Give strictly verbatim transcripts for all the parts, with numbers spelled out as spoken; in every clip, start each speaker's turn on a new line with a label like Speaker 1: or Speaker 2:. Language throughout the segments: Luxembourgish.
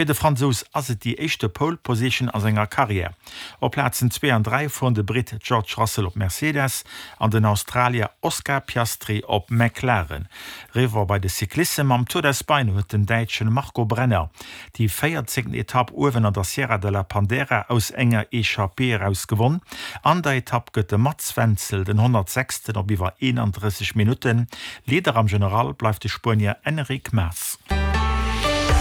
Speaker 1: Fir de Fransous ass et déi éischte Pole Position a senger Karriär. Op Plazen zwee an dräi fueren de Britt George Russell op Mercedes an den Australier Oscar Piastri op McLaren. Eriwwer bei de Cyclissem, Am Tour d'Espagne huet den Däitsche Marco Brenner déi véierzéngten Etapp uewen an der Sierra de la Pandera aus enger Echappée eraus gewonn. An der Etapp gëtt de Mats Wenzel den honnertsechsten op iwwer eenandrësseg Minutten. Leader am General bleift de Spuenier Enric Mas.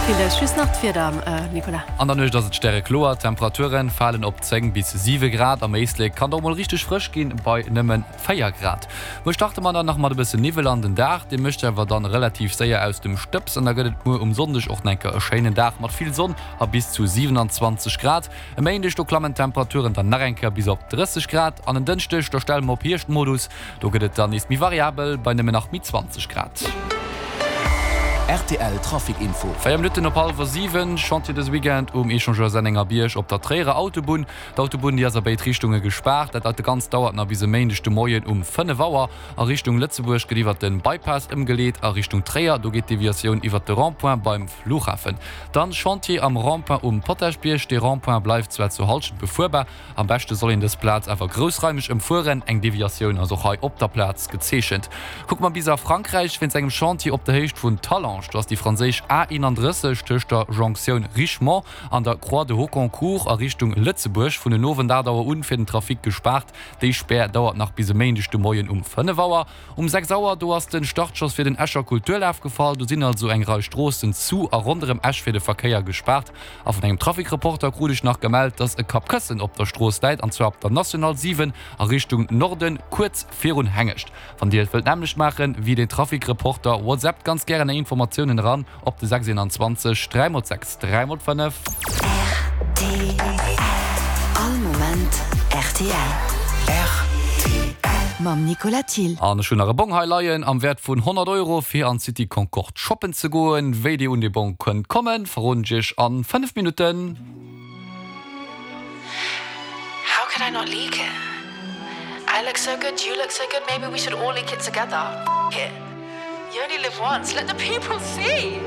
Speaker 2: Villes just nach d'Wieder, Nicolas.
Speaker 3: An der Nuecht ass et stärekloer, d'Temperature falen op zéng bis siwe Grad. Am Éislek kann et och mol richteg frësch ginn, bei nëmme véier Grad. Muer starte mer dann nach mat e bëssen Niwwel an den Dag, dee mécht awer dann relativ séier aus dem Stëbs an da gëtt et muer um Sonndeg och nach eng Kéier e schéinen Dag mat vill Sonn a bis zu siwenanzwanzeg Grad. E Méindeg, do klammen d'Temperaturen dann nach eng Kéier bis op drësseg Grad an en Dënschdeg, do stelle mer op Hierschtmodus, do gëtt et dann nees méi variabel bei nëmmen nach méi zwanzeg Grad.
Speaker 4: Rtl Trafic Info.
Speaker 3: Véier Minutten op hallwer siwen, Chantier dëse Weekend um Echangeur Sennengerbierg op der Tréierer Autobunn. D'Autobunn déi ass a béid Richtunge gespaart. Dat dat Ganzt dauert nach bis e Méindeg de Moien um fënnef Auer. A Richtung Lëtzebuerg gëtt iwwert de Bypass ëmgeleet, a Richtung Tréier do geet d'Deviatioun iwwert de Rond-point beim Flughafen. Dann Chantier am Rond-point um Potaschbierg. Dee Rond-point bleift zwar zur Hallschent befuerbar, am beschte soll een dës Plaz awer groussraimeg ëmfueren. Eng Deviatioun ass och hei op der Plaz gezeechent. Kucke mer bis a Frankräich, wéinst engem Chantier op der Héicht vun Talange. Do ass déi franséisch A eenandrësseg tëscht der Jonktioun Richemont an der Croix de Hocquincourt a Richtung Lëtzebuerg vun den Owend aacht Auer un fir den Trafic gespaart. Déi Spär dauert nach bis e Méindeg de Moien um fënnef Auer. Um sechs Auer, do ass de Startschoss fir den Escher Kulturlaf gefall. Do sinn also eng Rei Stroossen zu a ronderëm Esch fir de Verkéier gespaart. A vun engem Trafic-Reporter krut ech nach gemellt, dass e Kappkëssen op der Strooss läit, an zwar op der National siwen a Richtung Norden, kuerz virun Hengescht. Wann Dir et wëllt nämmlecht maachen wéi den Trafic-Reporter, WhatsAppt ganz gären Är Informatiounen eran op de sechs eenanzwanzeg dräi mol sechs dräi mol fënnef.
Speaker 5: Rtl, All Moment rtl.
Speaker 4: Rtl.
Speaker 5: Mam Nicolas Thill.
Speaker 3: An ech hunn nach e Bong hei leien am Wäert vun honnert Euro fir an d'City Concorde shoppen ze goen. Wéi Dir un dee Bong kënnt kommen, verroden ech Iech a fënnef Minutten.
Speaker 6: How could I not leak it? I look so good, you look so good, maybe we should all leak it together. F it. You only live once, let the people see!